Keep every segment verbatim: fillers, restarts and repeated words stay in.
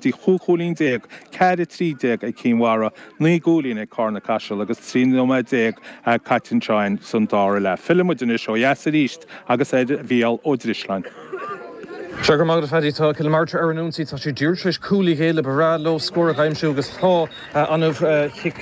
go dtí chúig chúilín déag, ceathair a trí déag ag Cinn Mhara, naoi gcúilín ag Carna Caiseal agus trí nóiméad déag caite anseo san dara leath. Fillfidh muid anois ó dheas arís agus ar Mhícheál Ó Drisleáin. Sea, go raibh maith agat, a Phaddy. Tá Cill na Martra ar an ionsaí. Tá siad díreach tar éis cúl a ghéilleadh. Ba bhreá leo scór a aimsiú agus tá an-chic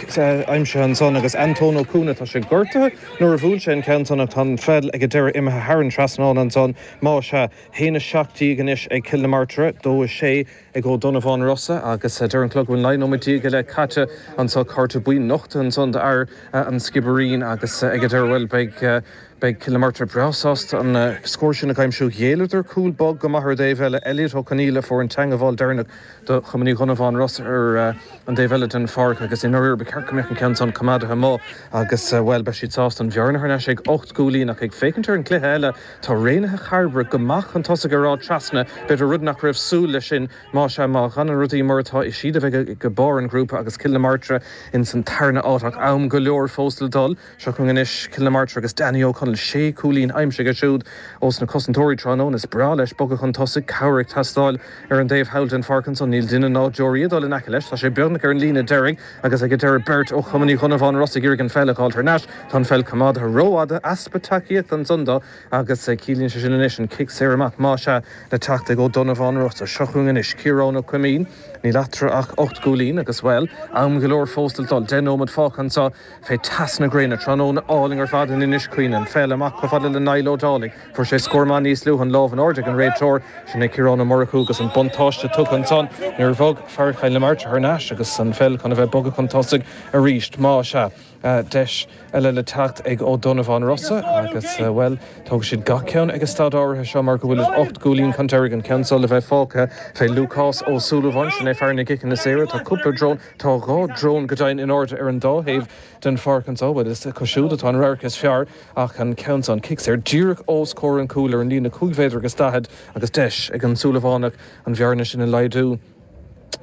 aimsithe ansan agus Antóin Ó Cuana, tá sé gortaithe nuair a bhuail sé an ceann san ach tá an pheil ag an deireadh imithe thar an trasnán ansan. Más ea, haon a seacht déag anois ag Cill na Martra, dó a sé ag Ó Donnabháin Rosa agus deir an clog go bhfuil naoi nóiméad déag go leith caite anso. Cárta buí nochta ansan d'fhear an Sciobairín agus ag an deireadh, bhuel, beidh Beidh Cill na Martra breá sásta an scór sin a aimsiú. Ghéilleadar cúl bog go maith ar an dtaobh eile. Elliot Ó Conaola a fuair an teangmháil deireanach do Chumann Uí Dhonnabháin Rosa ar an dtaobh eile den pháirc agus i ndáiríre ba cheart go mbeadh an ceann san coimeádaithe amuigh agus, bhuel, beidh siad sásta an bhearna thar n-ais ag ocht gcúilín. Ach ag féachaint ar an gcluiche eile, tá Raonaithe Chairbre go maith chun tosaigh ar Áth Trasna, b'fhéidir rud nach raibh súil leis sin. Más ea, má fhanann rudaí mar atá, is iad a bheidh ag barr an ghrúpa agus Cill na Martra ins an tarna áit ach am go leor fós le dul. Seo chugainn anois Cill na Martra agus Danny O'Connell, sé chúilín aimsithe aige siúd ós na cosantóirí tráthnóna. Is breá leis bogadh chun tosaigh, cabhair ag teastáil ar an dtaobh thall den pháirc ansan. Níl duine ná deoraí ag dul in aice leis. Tá sé beagnach ar an líne deiridh agus ag an deireadh beirt ó Chumann Uí Dhonnabháin Rosa ag iarraidh an pheil a fháil thar n-ais. Tá an pheil coimeádaithe rófhada, easpa tacaíochta ansan dó agus ciallaíonn sé sin anois an cic saor amach, más ea, le teacht ag Ó Donnabháin Rosa. Seo chugainn anois Ciarán Ó Coimín. Níl eatarthu ach ocht gcúilín agus, bhuel, am go leor fós le dul. Deich nóiméad fágtha anseo fé teas na gréine. Tráthnóna álainn ar fad in Inis Caoin. An pheil amach chomh fada le Niall Ó Dálaigh. Fuair sé scór maith níos luaithe, an lámh in airde ag an réiteoir. Sin é Ciarán Ó Murchú agus an buntáiste tugtha ansan nuair a bhog fear Chill na Martra thar n-ais agus an pheil chun a bheith bogtha chun tosaigh arís. Más ea. Deis eile le teacht ag Ó Donnabháin Rosa agus, bhuel, tógfaidh siad gach ceann ag an staid áirithe seo mar go bhfuil ocht gcúilín chun deiridh, an ceann seo le bheith fágtha fé Lúcás Ó Súilleabháin. Sin é fear na gciceanna saora. Tá cúpla drón, tá dhá drón go deimhin in airde ar an dá thaobh den pháirc anseo. Bhuel, is acu siúd atá an radharc is fearr ach an ceann seo, an cic saor díreach os comhair an chúil ar an líne cúig mhéadar agus daichead agus deis ag an Súilleabhánach an bhearna sin a laghdú.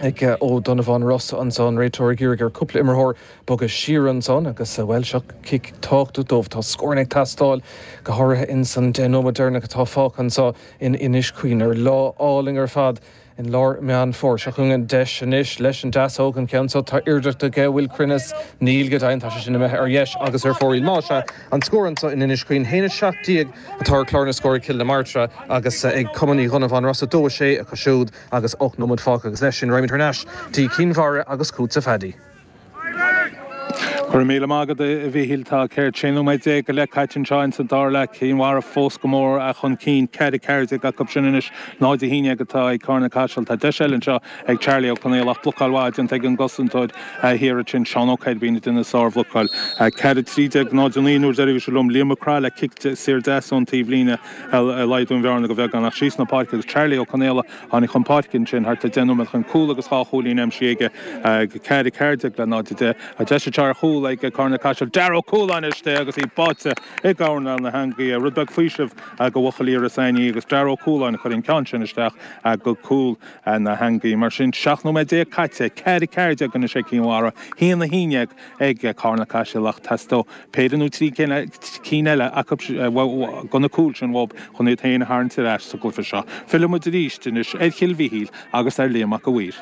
Ag Ó Donnabháin Rosa ansan, an réiteoir ag iarraidh ar cúpla imreoir bogadh siar ansan agus, bhuel, seo cic tábhachtach dóibh. Tá scóranna ag teastáil, go háirithe ins an deich nóiméad deireanach atá fágtha anseo in Inis Caoin ar lá álainn ar fad in lár Meán Fómhair. Seo chugainn an deis anois leis an deasóg, an ceann seo, tá iarracht aige, bhfuil cruinneas? Níl go deimhin, tá sé sin imithe ar dheis agus ar fóraoil. Más ea, an scór anseo in Inis Caoin, haon a seacht déag atá ar chlár na scór ag Cill na Martra agus ag Cumann Uí Dhonnabháin Rosa, dó a sé acu siúd agus ocht nóiméad fágtha agus leis sin raghaimid thar n-ais dtí Cinn Mhara agus chugatsa Phaddy. Go raibh míle maith agat, a Mhíchíl. Tá ceithre sé nóiméad déag go leith caite anseo ins an dara leath. Cinn Mhara fós go mór chun cinn. Ceithre ceathair déag acu sin anois. Náid a haon déag atá ag Carna Caiseal. Tá deis eile anseo ag Charlie Ó Conaola ach blocáil mhaith déanta ag an gcosantóir thiar ansin, Seán Ó Coirbín, a dhein an sárbhlocáil. Ceithre trí déag, náid a naoi nuair deiridh bhí sé liom. Liam Mac Craith le cic saor deas ón taobhlíne ag laghdú an bhearna go bheagán ach síos na páirce agus Charlie Ó Conaola tháinig chun páirce ansin thart ar deich nóiméad ó shin, cúl agus dhá chúilín aimsithe aige. Ceithre ceathair déag le náid a deich. Tá deis anseo ar chúl ag Carna Caiseal. Darragh Ó Cualáin istigh agus í báite i gcoirnéal na heangaí. Rud beag faoisimh do bhuachaillí Iorras Aithní agus Darragh Ó Cualáin a chuir an ceann sin isteach go cúl na heangaí. Mar sin, seacht nóiméad déag caite, ceithre ceathair déag anois ag Cinn Mhara, haon a haon déag ag Carna Caiseal ach teastóidh péire nó trí cinn eile acu de na cúil sin uathu chun iad féin a tharraingt ar ais sa gcluiche seo. Fillfidh muid arís anois ar Chill Mhichíl agus ar Liam Mac a' Mhaoir.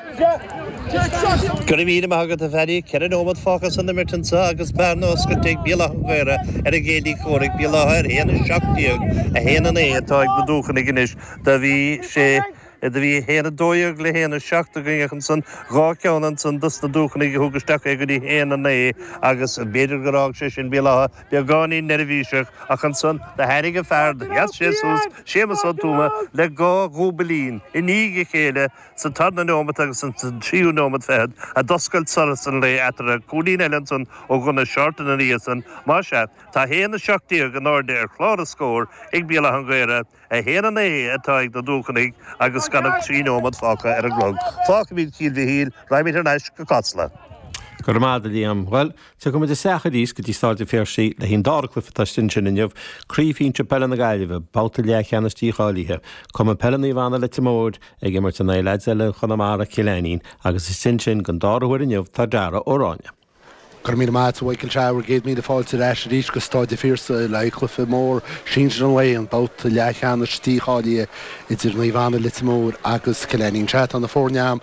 Go raibh míle maith agat, a Phaddy. Ceithre nóiméad fágtha san imirt anseo agus bearna oscailte ag Béal Átha an Ghaorthaidh ar a gcéilí comhraic, Béal Átha ar a haon a seacht déag, a haon a naoi atá ag na Dúchanaigh anois. Do bhí sé, do bhí a haon a dó dhéag le haon a seacht againn ach ansan dhá cheann ansan dos na Dúchanaigh a thug isteach é go dtí haon a naoi agus b'fhéidir gur fhág sé sin Béal Átha beagáinín neirbhíseach ach ansan do tháinig an fear, do sheas sé suas, Séamus Ó Tuama, le dhá dhúbailín i ndiaidh a chéile sa tarna neomat agus sa tríú neomat fichead a d'oscail solas an lae eatarthu. Cúilín eile ansan ó Dhonagh Shorten ina dhiaidh san. Más ea, tá a haon a seacht déag in airde ar chlár na scór ag Béal Átha an Ghaorthaidh, a haon a naoi atá ag na Dúchanaigh agus gan ach trí neomat fágtha ar an gclog. Fágfaimid Cill Mhichíl, raghaimid thar n-ais go Casla. Go raibh maith agat, a Liam. Bhuel, tiocfaidh muid isteach arís go dtí Staid an Phiarsaigh le haghaidh an dara cluiche atá istigh ansin inniu, Craobh Shinsir Peile na Gaillimhe, babhta leathcheannais dícháilithe. Cumann Peile Naomh Anna Leitir Móir ag imirt in aghaidh leaids eile Chonamara, Cill Ainnín, agus istigh ansin don dara huair inniu tá Darragh Ó Ráinne. Go raibh míle maith agat, a Mhichael. Sea, bhur gcéad míle fáilte ar ais arís go Staid an Phiarsaigh le haghaidh cluiche mór sinsir an lae, an babhta leathcheannais dícháilithe idir Naomh Anna Leitir Móir agus Cill Ainnín. Sea, tá na foirne a'm